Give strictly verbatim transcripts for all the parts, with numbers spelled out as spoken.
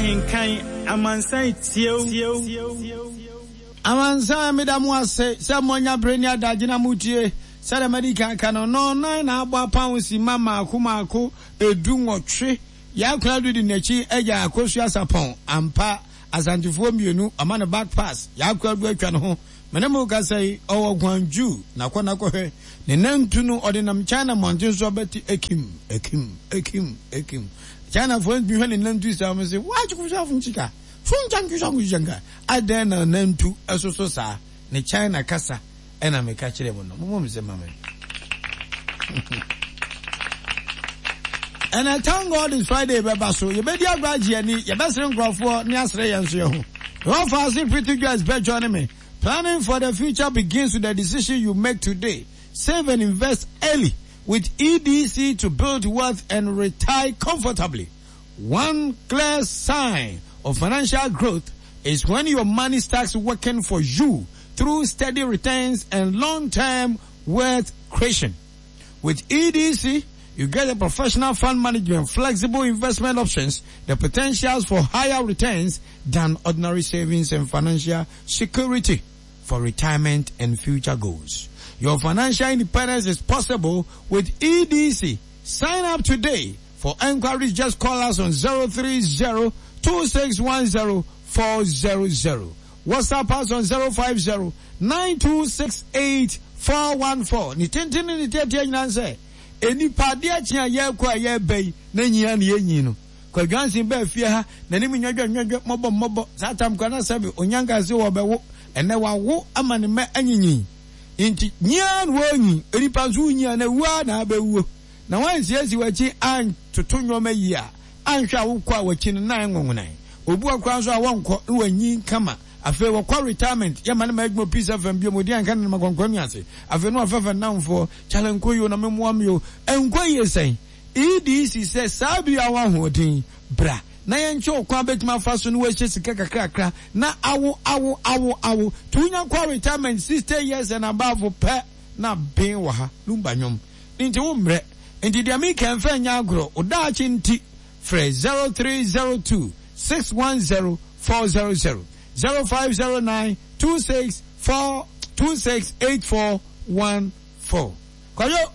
Ahenkan amansan tie o. Amansan, meda mo ase sɛ moanya bere ne adagye na motie. Sɛdeɛ madi kan ka no, nnɔnnan na abɔ apam simma mmaako mmaako edu nwɔtwe. Yaa Konadu di n'akyi agya Akosua Sarpong. Ampa, Asantefoɔ mmienu, ɔma no back pass. Yaa Konadu atwa ne ho. Me ne mo rekasa yi, ɔwɔ Guangzhou. Na kɔ na kɔhwɛ. Ne nantu no, ɔde nam China mmɔnten so abati akim, akim, akim, akim. Chinafoɔ ntumi hwɛ ne nantu saa, wɔn se, Wa Adɛn na nantu soso saa? Ne China kasa ɛna meka kyerɛ mu no. Mommɔ me sɛ ma me. And I thank God it's Friday bɛba so. Yɛbɛdi agorɔ agye ani, yɛbɛsere nkurɔfoɔ ne asere yɛn nso yɛn ho. Wɔfa ase Pretty Joyce bɛjɔ ne me. Planning for the future begins with the decision you make today. Save and invest early with E D C to build wealth and retire comfortably. One clear sign of financial growth is when your money starts working for you through steady returns and long-term wealth creation. With E D C, you get a professional fund management, flexible investment options, the potentials for higher returns than ordinary savings, and financial security for retirement and future goals. Your financial independence is possible with E D C. Sign up today. For enquiries, just call us on zero three zero two six one zero four zero zero. WhatsApp us on zero five zero nine two six eight four one four. Ni tenten ne tietie nyinaa sɛ enipa adeɛ kye a yɛrekɔ a yɛreba yi na nyia ne yɛnyi no. Kwadwansin bɛɛ fie ha n'anim nwɛdwɛ nwɛdwɛ mmɔbɔ mmɔbɔ saa tam kora na sɛbi onyanka se wɔbɛwo ɛnɛ wawo ama ne mɛ anyinyin nti nyia na wɔnyi enipa nso nyia na wua na abɛwuo na wansiesie w'akyi antoto nneɛma yie a anhwɛ a wokɔ a w'akyi no nan nwonwonan obi wɔ koraa nso a wɔnkɔ na wanyi kama. Afei wɔkɔ retirement, yɛma ne ma adwuma Peace F M bio mu odi anka ne nama kɔnkɔn mi ase. Afei no afɛfɛ nnamfoɔ kyale nkɔ yio na memoa mi o nkɔ yie sɛn. E D C sɛ saa bi a wɔ ahoɔden bra na yɛnkyɛ ɔkwan bɛtumi afa so na wɔahyɛ sika kakrakra na awo awo awo awo to wonya kɔ retirement sixty years and above pɛ na ben wɔ ha Lumba nwom nti wo mmerɛ nti deɛ meka mfa nyɛ agorɔ wo daakye nti frɛ zero three zero two six one zero four zero zero, zero five zero nine two six four two six eight four one four. Kwadwo,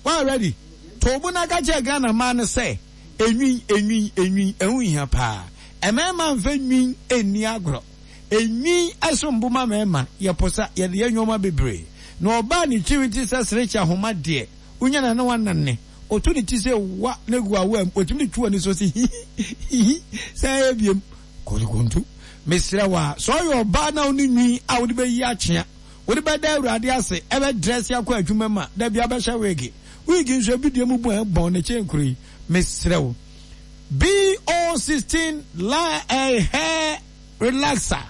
wa ready to obu na ka kyerɛ Ghana maa no sɛ enwin enwin enwin ɛho hia paa. Mmarima mfɛ nwin ɛnni agorɔ. Enwin ɛso mbo ma mmarima yɛposa yɛde yɛ nneɛma bebree na ɔbaa ne tiri ti sɛ serekye ahoma deɛ wonya na ne wanane otu ne ti sɛ wa ne gu awa mu otumi de tu ani so si hihi sɛ ɛyɛ biem kɔntu. Mesrɛ wa sɛ ɔyɛ ɔbaa na wone nwi a wode bɛyi akyea wode bɛda Awurade ase ɛbɛ dress akɔ adwuma mu a dabi abɛhyɛ wig wig nso ebi deɛ mu bu ɛbɔn ne kyɛn kuro yi. Mesrɛ wo, B O sixteen la eh, hair relaxer,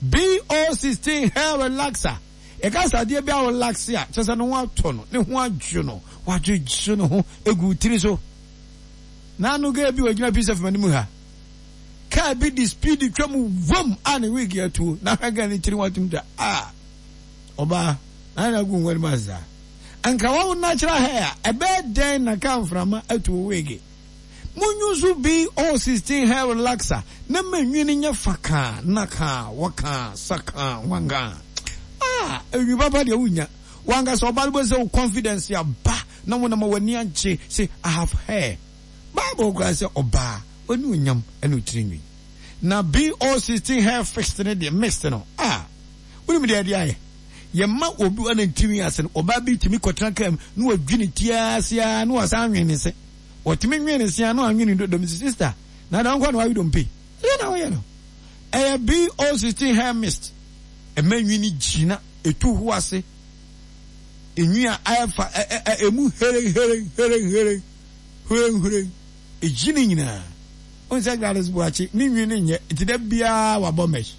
B O sixteen hair relaxer. Yɛka sɛ adeɛ bi a relax a kyerɛ sɛ ne ho atɔ no, ne ho adwo no, wadwodwo ne ho egu tiri so. N'ano gaa bi ogyina Peace F M anim ha, kaa bi di speed twam wam a ne wig atuo na ahwɛ gaa ne tiri ho atum da a ɔbaa na na gu nwɛre mu asa anka wawo natural hair a ɛbɛyɛ dɛn na kaa mframa atuo wig. Munyu so B O sixteen hair relaxer na manwi no nyɛ fakaa nakaa wɔkaa sakaa wankaa ah enwi papa deɛ wonya wankasa ɔbaa no bɛ sɛ wo confidence aba na wo nam w'ani agye sɛ "I have hair". Bible koraa sɛ ɔbaa w'ani onyam ɛna otiri nwi na B O sixteen hair fixed ne deɛ mixed no ah wonim deɛ ɛde ayɛ yɛma obi wa ne ntiri ase no. Ɔbaa bi tumi kɔtena kaa mu na wadwi ne ti ase a na wasan anwen ne se wɔtumi nwen ne se a na wanwen ne dodom si sister na dan kɔ na wawe dompe ɛyɛ na wɔyɛ no. Ɛyɛ B O sixteen hair mist ɛma nwi ne gyina etu ho ase enwi a ayɛ fa ɛ ɛ emu here here here here here here egyi ne nyinaa n sɛ Gladys Boakye ne nwi ne nyɛ nti da biara wabɔ mesh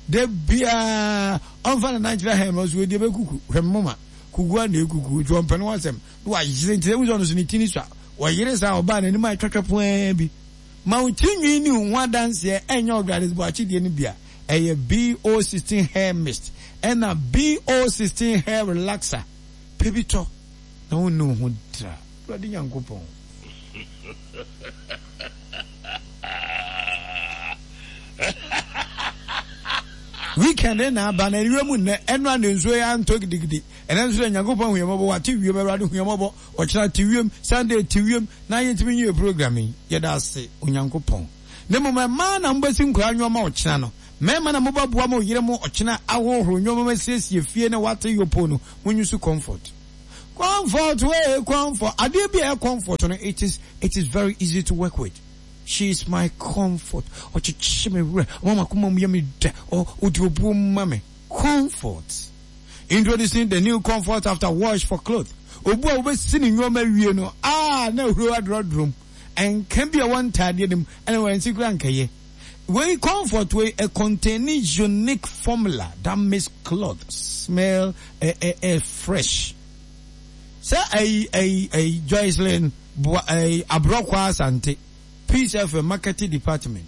da biara ɔnfa ne nan kyerɛ hɛn no so edi ebe kuku hwɛ moma kuku a na ekuku nti ɔmpɛ no asɛm na wayere nti ewu sɛ ɔno so ne ti ni so a wɔyere saa ɔbaa n'anim a ɛtwatwa pɔn bi ma wo ti nwi ne ho adanseɛ ɛnyɛ Gladys Boakye deɛ no bi a ɛyɛ B O sixteen hair mist ɛna B O sixteen hair relaxer pɛ bi tɔ na wo ne wo ho dra Awurade Nyankopɔn. Weekend na aba na ewie mu nnɛ ɛno a ne nsuo yɛ antɔ gidigidi. Ɛnɛ nso dɛ Nyankopɔn hu yɛn mmɔbɔ, wate wiem, Awurade hu yɛn mmɔbɔ, ɔkyena te wiem, Sunday te wiem, na yɛntumi nyɛ program yi. Yɛda ase Onyankopɔn. Ne mmom mmaa na mobɛsi nkwadaa nneɛma ɔkyena no. Mmarima na mobɛboa mo yere mo ɔkyena ahohoro nneɛma ma siesie fie na wate yopo no, monyi so Comfort. Comfort wey comfort. Adeɛ bi a ɛyɛ comfort no, it is it is very easy to work with. She is my comfort. Ɔkyekye me werɛ. Ɔma m'akoma mu yɛ me dɛ. Ɔ ɔdi obuo ma me. Comfort. Introducing the new Comfort after wash for cloth. Obu a wobɛsi ne nneɛma wie no, ah, na ehuro adorɔdorɔ mu. Nka bi a ɛwɔ ntaadeɛ no mu, ɛna wɔn kura nkɛyɛ. Wei Comfort wei a containing unique formula that makes cloth smell eh, eh, eh, fresh. Sɛ ɛyi ɛyi ɛyi Joycelyn Boa ɛyi Aborɔkwa Asante, Peace F M marketing department.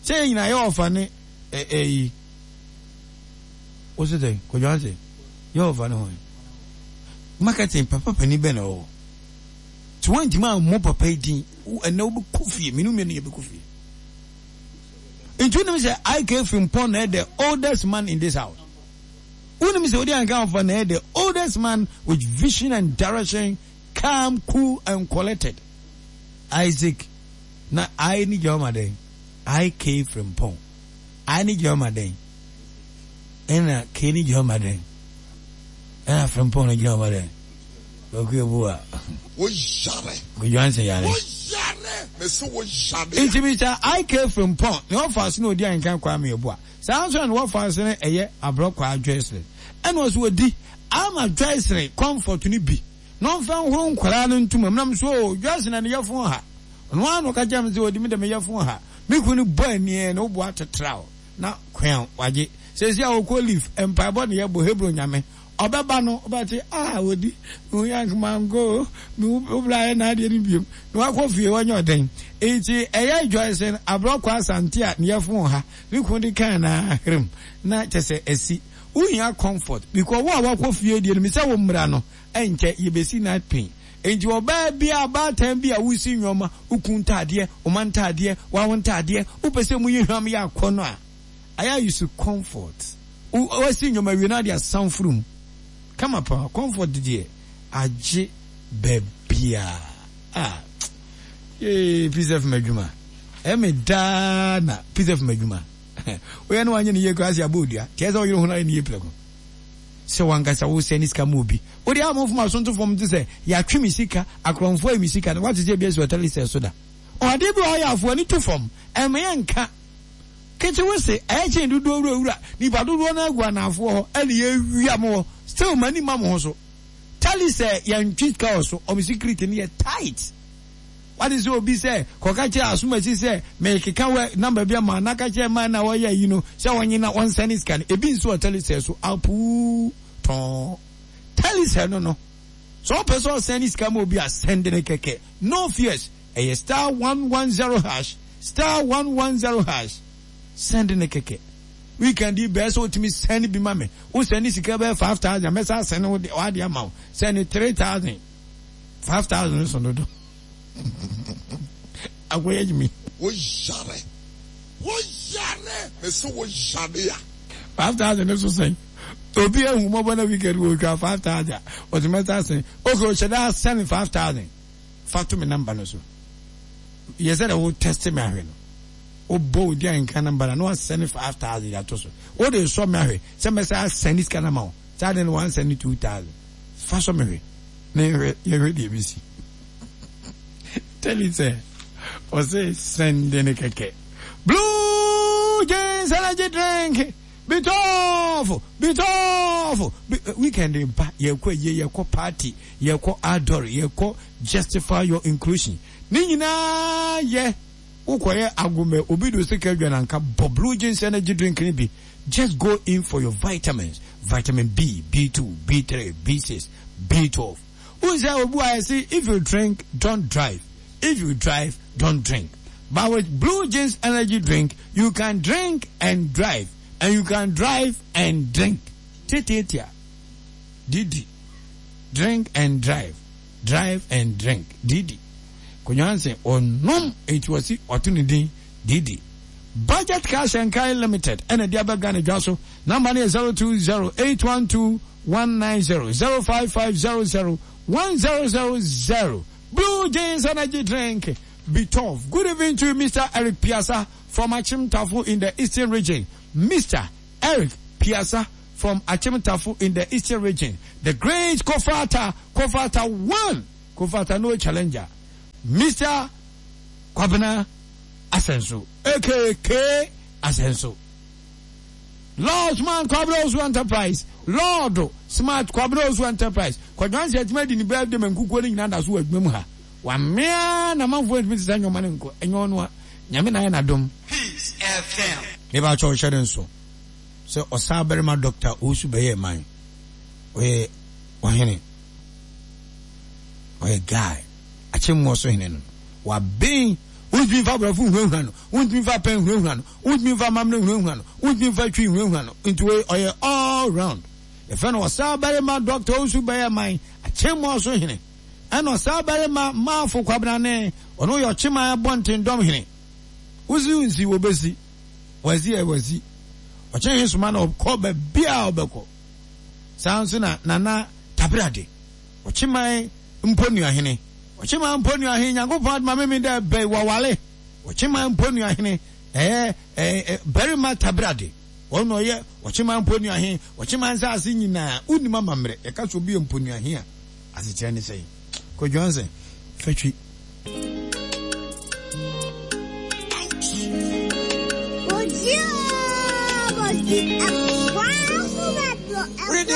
Sɛ yɛn nyinaa yɛ ɔfa ne ɛ ɛyi. Wosi sɛ Kwadwo Anse yɛ ɔfa ne ho. Marketing papa panin bɛn na ɔwɔ. Tí wɔn ntoma ammɔ papa yi din ɛnna wobɛkɔ fie mmienu mmienu yɛ bɛkɔ fie. Nti wonim sɛ I K Frimpong na yɛ the oldest man in this house. Wonim sɛ odi anka ɔfa na yɛ the oldest man with vision and direction, calm, cool and collected. Isaac na I ni gyina ɔma dɛn? I K Frimpong. I ni gyina ɔma dɛn? Ɛna K ni gyina ɔma dɛn? Ɛna Frimpong no gyina ɔma dɛn? Kwaku Ebuwa. Wo yare. Kwadwo Anse yare. Wo yare. Mese wo yare. Nti Mister I K Frimpong ne ɔfa ase na odi anka Kwame Ebua. Saa nso na ne wɔfa ase no ɛyɛ Aborɔkwa Joycelyn. Ɛna ɔso ɔdi ama Joycelyn Comfort no bi na ɔmfa nhoro nkwaraa no ntoma mu. Nam so o Joycelyn na ne yɛfo ha. Ɔno ara na ɔka kyerɛ me sɛ ɔdi me dɛ me yɛfo ha. Me kunu no bɔ ani na woboa tetra o na kwan wagye. Sɛsi a ɔkɔ leave mpaebɔ ne yɛbɔ Hebron Nyame. Ɔbɛba no ɔbɛte ah ɔdi mehu yank mango mehu wobla ayɛ n'adeɛ no biom na wakɔ fie wɔnyɛ ɔden. Nti ɛyɛ Joycelyn Aborɔkwa Asante a ne yɛfo ha ne kunu de kan na aherem na kyɛ sɛ asi. Wohia comfort because wo a wakɔ fie deɛ no mesɛ wo mmra no ɛnkyɛ yɛbɛsi night pain. Nti ɔbaa bi a baatan bi a wosi nneɛma woku ntaadeɛ ɔma ntaadeɛ wawo ntaadeɛ wopɛ sɛ mu yi hwam yɛ akɔ no a ayɛ use comfort. Wasi nneɛma wie na de asan furu mu kama paa. Comfort deɛ agye baabia ah yee Peace F M adwuma ɛmɛ daa na Peace F M adwuma woyɛ no wanyɛ ne yie koraa sɛ abɔ odua kyerɛ sɛ woyere ho no ayɛ ne yie prɛko sɛ wankasa wo sɛ ne sika ma obi wode amɔfo ma so nto fam te sɛ yɛatwe me sika akorɔmfoɔ ayi me sika no wate sɛ bi asi ɔtɛle sɛ so da ɔade bi ɔyɛ afoɔ ani to fam ɛmɛ yɛ nka kete wo se ɛyɛ kyɛn dodoɔ wura wura nipa dodoɔ no agu anaafoɔ hɔ ɛne yɛwia mo hɔ still mani ma mo ho so tali sɛ yɛntwe sika wɔ so ɔmo security no yɛ tight. Wate sɛ obi sɛ kɔka kyerɛ asomasi sɛ mekeka wɛ number bi ama na ka kyerɛ man na wɔyɛ yi no sɛ wɔnye na wɔnsɛne sika no ebi nso wɔ Telecel so apuu tɔn Telecel no no sɛ ɔpɛ sɛ ɔsɛne sika ma obi a sɛnde ne kɛkɛ, no fears, ɛyɛ star one one zero hash star one one zero hash, sɛnde ne kɛkɛ. Weekend yi bɛɛ sɛ wotumi sɛne bi ma me, wo sɛne sika bɛyɛ five thousand mɛsa asɛne wo de wade ama wo sɛne three thousand five thousand so dodo akɔyɛ gyimi. Wo yare. Wo yare. Mese wo yare a. five thousand so sɛn obi ehu mɔbɔ na weekend wo twa five thousand ɔtumi mɛsa asɛn okay ɔhyɛ dɛ asɛne five thousand fa to me number no so yɛ sɛ dɛ wo test me ahwɛ no wobɔ odi a nka number na na wasɛne five thousand ato so wo de sɔ me ahwɛ sɛ mɛsa asɛne sika na ma wo saa de no wansɛne two thousand fa sɔ me hwɛ na yɛhwɛ yɛhwɛ deɛ ebesi. Tell you sɛ ɔsɛ sɛnde ne kɛkɛ. Blue Jeans energy drink bitɔɔfo bitɔɔfo weekend ba yɛkɔ yie yɛkɔ party yɛkɔ adore yɛkɔ justify your inclusion ne nyinaa yɛ wokɔyɛ agomɛ obi do sika adwa nanka bɔ Blue Jeans energy drink ni bi. Just go in for your vitamins, vitamin B, B two, B three, B six, B twelve. Who say obu I say if you drink, don't drive. If you drive, don't drink. But with Blue Jeans energy drink, you can drink and drive, and you can drive and drink. Titiatia. Didi. Drink and drive. Drive and drink. Didi. Konyanse onom eti wasi oto ne din Didi. Budget Cash and Carry Limited ɛna ɛde aba Ghana dwa so. Number no yɛ zero two zero eight one two one nine zero zero five five zero zero one zero zero zero. Blue Jeans Energy Drink, be tough. Good evening to you, Mister Eric Piasa from Achimtafo in the Eastern Region. Mister Eric Piasa from Achimtafo in the Eastern Region. The great Kofata, Kofata one, Kofata no challenger. Mister Kwabena Asenso, aka K Asenso. Lord Smart Kwabena Osu Enterprise, Lord Smart Kwabena Osu Enterprise. Kwadwansi atuma di ni birthday ma nkukuo no nyinaa da so wɔ adwuma mu ha. Wamea na manfoɔ ntumi sesa nnwoma no nkɔ. Ɛnyɛ ɔno a, Nyame na ayɛ n'adom. Peace F M. Meba kyɛw hyɛ ne nso sɛ ɔsaa barima Doctor Owusu bɛyɛ man. Ɔyɛ ɔhene. Ɔyɛ guy. Akyemmoɔ so hene no. Waben. Wontumi mfa aborɔfo nhunahuna no. Wontumi mfa pɛn nhunahuna no. Wontumi mfa amammerɛ nhunahuna no. Wontumi mfa twi nhunahuna no. Nti wei ɔyɛ all round. Yɛfrɛ no ɔsaa barima Doctor Owusu bɛyɛ man. Akyemmoɔ so hene. Ɛna ɔsaa barima Maafo Kwabrane. Ɔno yɛ ɔkyeman abɔnten hene. Wosi nsi wobesi. Wasi ɛ wasi. Ɔkyɛn he soma na ɔkɔ baabi a ɔbɛkɔ. Saa nso na Nana Tabrade. Ɔkyeman mponuahene. Ɔkyeman mponuahene Nyankopɔn adoma meme dɛ bɛyi wawale. Ɔkyeman mponuahene ɛyɛ ɛɛ barima Tabrade. Ɔno na ɔyɛ ɔkyeman mponuahene. Ɔkyeman nsaase nyinaa wonim amammerɛ. Yɛka sɛ obi yɛ mponuahene a asekyerɛ ne sɛn. Kwadwo Ansa fatwi. Reading.